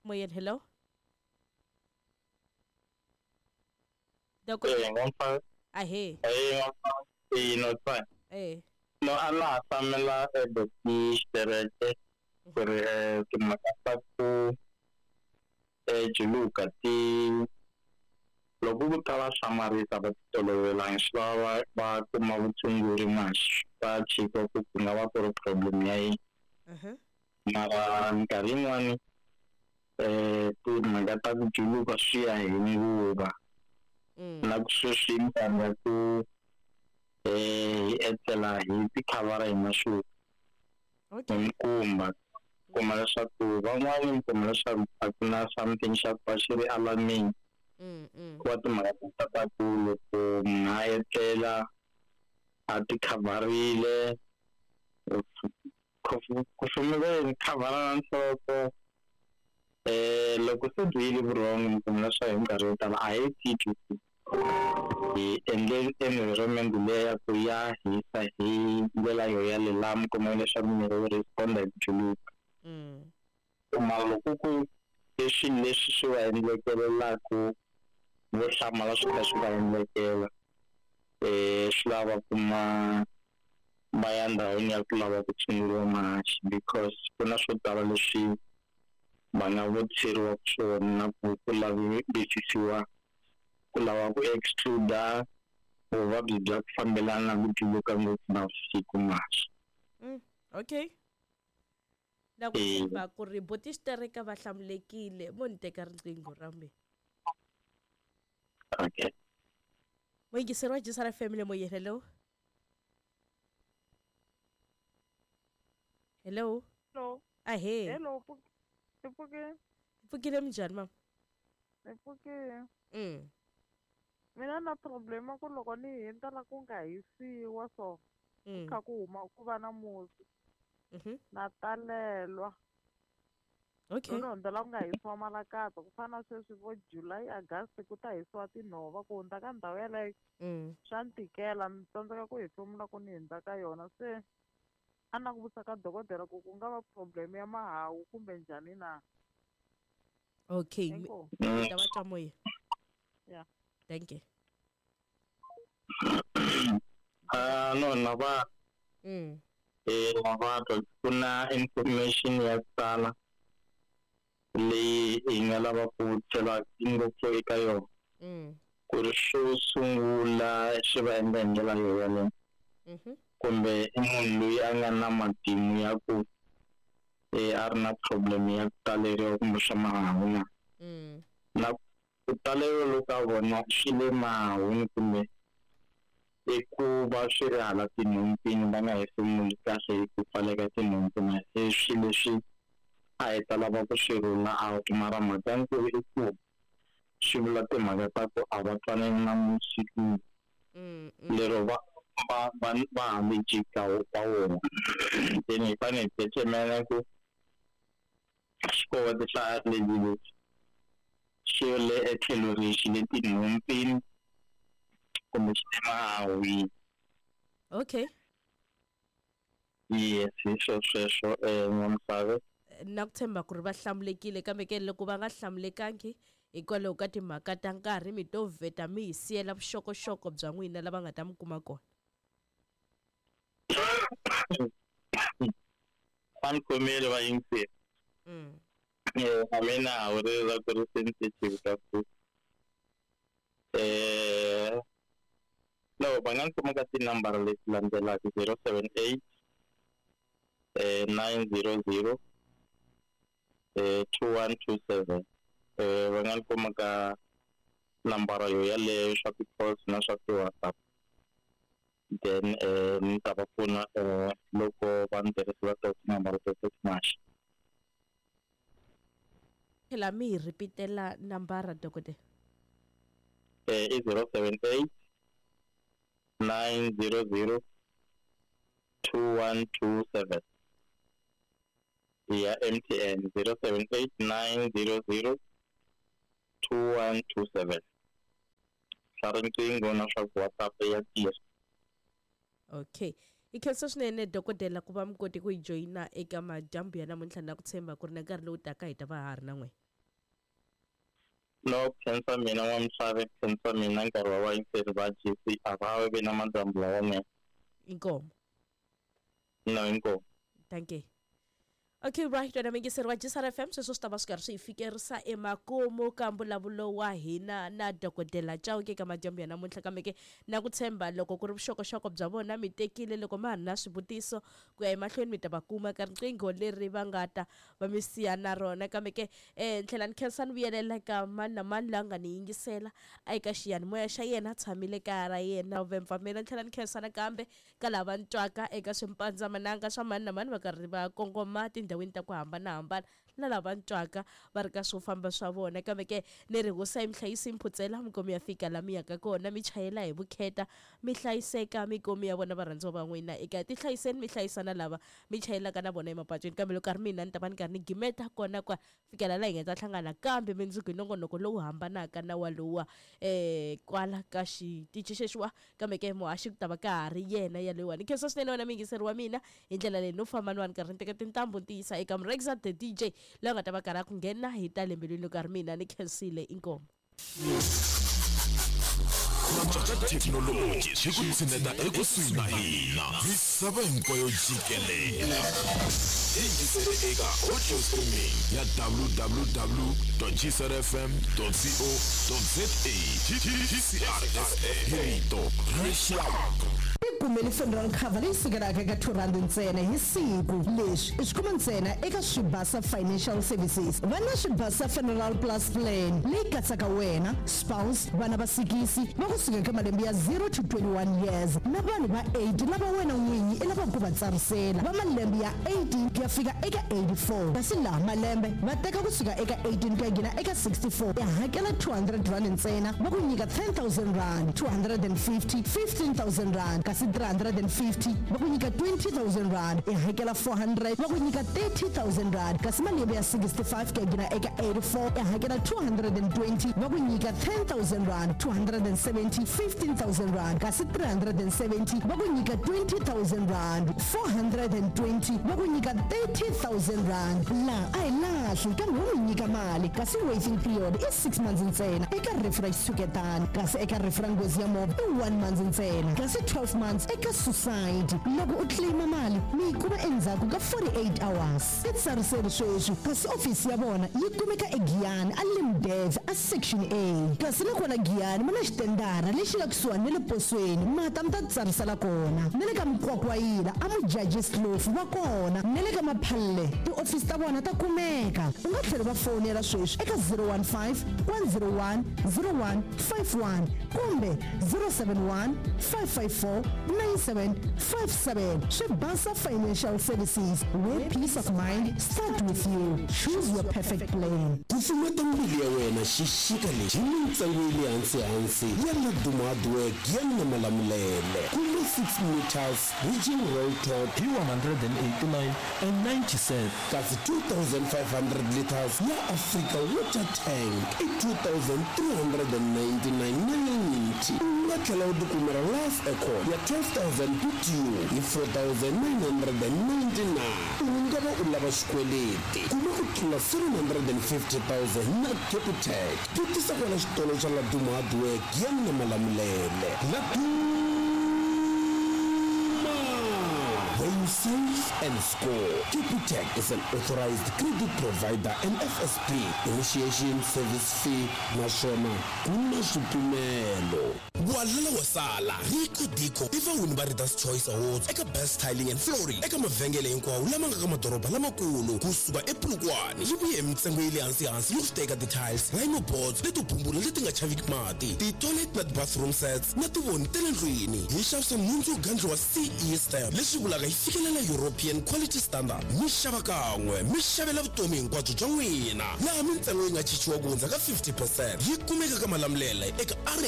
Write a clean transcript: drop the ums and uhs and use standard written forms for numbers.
Moyeni, hello. Dokodela. Ahee. Eh. No a na ha hlamela xitereke ku ri timhaka ta ku juluka ti loko ku ta va hlamarisa va ti tolovelangi swi lava va kuma vutshunguri manje va chika ku ku nga va ku ri problem ya yini. Mara minkarhi yin'wani timhaka ta ku juluka swi ya hi nguva na ku sweswi i minkarhi ya ku hi etlela hi tikhavhara hi maxuka hi mikumba kuma leswaku van'wani mi kuma leswaku a ku na something xa ku va xi ri alarming ku va timhaka ta ta ku loko munhu a etlela a tikhavharile ku khavhara na nhloko loko se byi yile vurhongo mi kuma leswaku hi minkarhi yo tala a hi titwi ku hi endle environment leya ya ku ya hisa hi ndlela yo yaleyo laha mi kuma leswaku miri wu respond-a hi ku juluka. Mara loko ku i swilo leswi swi va endlekelelaku vo hlamala swi kha swi va endlekela swi lava kuma va ya ndhawini ya ku lava ku tshunguriwa mahaxi because ku na swo tala leswi va nga vutiseriwaka swona na ku ku lavisisiwa ku lava ku exclude vuvabyi bya ku fambelana na ku juluka ngopfu navusiku mahaxi. Okay. Na ku tshemba ku ri buti xitereka va hlamulekile mo ni teka riqingho ra mina. Okay. Muyingiseri wa Jisara Family moyeni, hello. Hello. Hello. Ahee. Hello, i pfukile? Hi pfukile minjhani mama? Hi pfukile. Mina na problem ku loko ni hundza la ku nga hisiwa so ku kha ku huma ku va na musi. Na talelwa. Okay. Loko ni hundza la ku nga hisiwa malakatsa ku fana na sweswi vo July, August ku ta hisiwa tinhova ku hundza ka ndhawu yeleyo swa ni tikela ni tsandzeka ku hefemula ku ni hundza ka yona se a na ku vutisa ka dokodela ku ku nga va problem ya mahawu kumbe njhani na. Okay. Inkomu. Mi ta va twa moya. Yeah. Thank you. No na va na va twa ku na information ya ku tala leyi hi nga lava ku tlhela ngopfu eka yona. Ku ri xo sungula swi va endla hi ndlela yo yaleyo. Kumbe i munhu loyi a nga na matimu ya ku a ri na problem ya ku taleriwa kumbe swa mahawu na. Na ku taleriwa loko a vona swi le mahawini kumbe i ku va swi ri hala tinhompfini va nga hefemuli kahle hi ku pfaleka tinhompfu na i swilo leswi a hi ta lava ku swi rula out mara mhaka nkulu i ku swi vula timhaka ta ku a va twanani na musi lero va va va va hambi jika wa wona then hi fanele hi determine ku xikowete xa allergy lexi xi le etlhelo rihi xi le tinhompfini kumbe xi le mahahwini. Okay. Yes, hi swo sweswo N'wamusave. Na ku tshemba ku ri va hlamulekile kambe ke loko va nga hlamulekangi hikwalaho ka timhaka ta nkarhi mi to vheta mi hi siyela vuxokoxoko bya n'wina lava nga ta mi kuma kona. Va ni khomile va yingisile. A mina hawu ri ra ku ri sensitive ka ku no va nga ni kuma ka tinambara leti landzelaka 078 900 2127. Va nga ni kuma ka nambara yo yaleyo swa ti-calls na swa ti-WhatsApp. Then ni ta va pfuna loko va ni tirhisela to tinambara teto timaxa. Phela mi hi ripitela nambara dokodela. I 078 900 2127. Ya MTN 078 900 2127. Swa riqingho na swa ku WhatsApp ya tirha. Okay. Hi khensa swinene dokodela ku va mi kote ku hi joyina eka madyambu ya namuntlha na ku tshemba ku ri na nkarhi lowu taka hi ta va ha ri na n'wina. No khensa mina n'wamisave, khensa mina nkarhi wa vayingiseri va GC a va vi na madyambu lawanene. Inkomu. No, inkomu. Thank you. Okay, right, wena muyingiseri wa GCR FM, sweswo swi ta va swi karhi swi hi fikerisa emakumu ka mbulavulo wa hina na Dokodela Chauke ka madyambu ya namuntlha. Kambe ke na ku tshemba loko ku ri vuxokoxoko bya vona mi tekile, loko ma ha ri na swivutiso ku ya emahlweni mi ta va kuma ka riqingho leri va nga ta va mi siya na rona. Kambe ke ni tlhela ni khensa ni vuyelela ka mani na mani loyi a nga ni yingisela eka xiyanimoya xa yena, a tshamile kaya ra yena vempfamela. Ni tlhela ni khensa nakambe ka lava ni twaka eka swimpandzamanaga swa mani na mani va karhi va kongoma tindhawini ta ku hambanahambana, na lava ni twaka va ri ka swo famba swa vona. Kambe ke ni ri hosi yi mi hlayisi mphutsela mi komi ya fika la mi yaka kona, mi chayela hi vukheta, mi hlayiseka, mi komi ya vona varhandziwa va n'wina eka tihlayiseni, mi hlayisa na lava mi chayelaka na vona emapatwini. Kambe loko a ri mina ni ta va ni karhi ni gimeta kona kwa fikela la hi nga ta hlangana kambe mundzuku hi nongonoko lowu hambanaka na walowa kwala ka xitichi xexiwa. Kambe ke muhaxi ku ta va ka ha ri yena yaloyiwani. Khensa swinene wena muyingiseri wa mina hi ndlela leyi no famba ni va ni karhi ni teka tintambu ni ti yisa eka Mrexa the DJ loyi a nga ta va karhi a ku nghena hi ta le mbilwini. Loko a ri mina ni khensile, inkomu. Ku cinca ka thekinoloji swi ku tshineta ekusuhi na hina, misava hinkwayo jikelele. Yingisele eka audio streaming ya www.gcrfm.co.za. GCRFM, hi rito ra rixaka. Tikumeli funeral cover leyi sukelaka eka R2 ntsena hi siku. Leswi i swi kuma ntsena eka Swibasa Financial Services. Va na Swibasa Funeral Plus Plan leyi katsaka wena, spouse, vana va sikisi va kusuka eka malembe ya 0 to 21 years na vanhu va 8 lava wena n'winyi i lavaka ku va tsarisela va malembe ya 18 ku ya fika eka 84. Kasi laha malembe va teka kusuka eka 18 ku ya nghena eka 64, i hakela R200 ntsena va ku nyika R10,000, 250 R15,000, kasi 350 va ku nyika R20,000, i hakela 400 va ku nyika R30,000, kasi malembe ya 65 ku ya nghena eka 84 i hakela 220 va ku nyika R10,000, 270 R15,000, kasi 370 va ku nyika R20,000, 420 va ku nyika R30,000. Laha a hi lahli kambe wo mi nyika mali, kasi waiting period i 6 months ntsena eka rifu ra xitshuketani, kasi eka rifu ra nghozi ya movha i 1 month ntsena, kasi 12 months eka suicide. Loko u claima mali mi yi kuma endzhaku ka 48 hours. Titsariseli sweswi, kasi ofisi ya vona yi kumeka eGiyani a Limdev a Section A, kasi na kwala Giyani ma na xitendara lexi nga kusuhani na le posweni, mata mi ta titsarisela kona. Na le ka Mukwakwayila a Mujajis Kloof va kona, na le ka Maphalle tiofisi ta vona ta kumeka. U nga tlhela va fowunela sweswi eka 015 101 0151 kumbe 071 554 9757. Swibasa Financial Services, where peace of mind start with you. Choose your perfect plan. Kufumeta mbilu ya wena xixika lexi hi mintsengo ya le hansi-hansi ya Laduma Hardwork ya Namalamulele. Kuma 6 meters Ridging Roll Top hi 189 and 90 cents. Kasi 2500 liters ya Africa Water Tank i 2399.90. U nga tlhela u tikumela Life Aircon ya 12000 BTU hi 4999. U nga va u lava xikweleti, kuma ku tlula 750,000 na Capitec. Vutisa kwala xitolo xa Laduma Hardwork ya Namalamulele. Laduma, where you save and score. Capitec is an authorized credit provider and FSP. Initiation service fee naswona ku na swipimelo. Walala wa sala Rico Dico i vawini va Readers Choice Awards eka Best Tiling and Flooring eka mavhengele hinkwawo lama nga ka madoroba lamakulu kusuka ePolokwane. Yi vuye hi mintsengo ya le hansi-hansi yo teka ti-tiles, rhino boards leto bumbula leti nga chaviki mati, ti-toilet na ti-bathroom sets na tivoni ta le ndlwini. Hi xavisa nhundzu yo gandliwa CE stamp, leswi vulaka yi fikelela European Quality Standard. Mi xava kan'we mi xavela vutomi hinkwabyo bya n'wina, laha mintsengo yi nga chichiwa ku hundza ka 50%. Yi kumeka ka Malamulele eka RA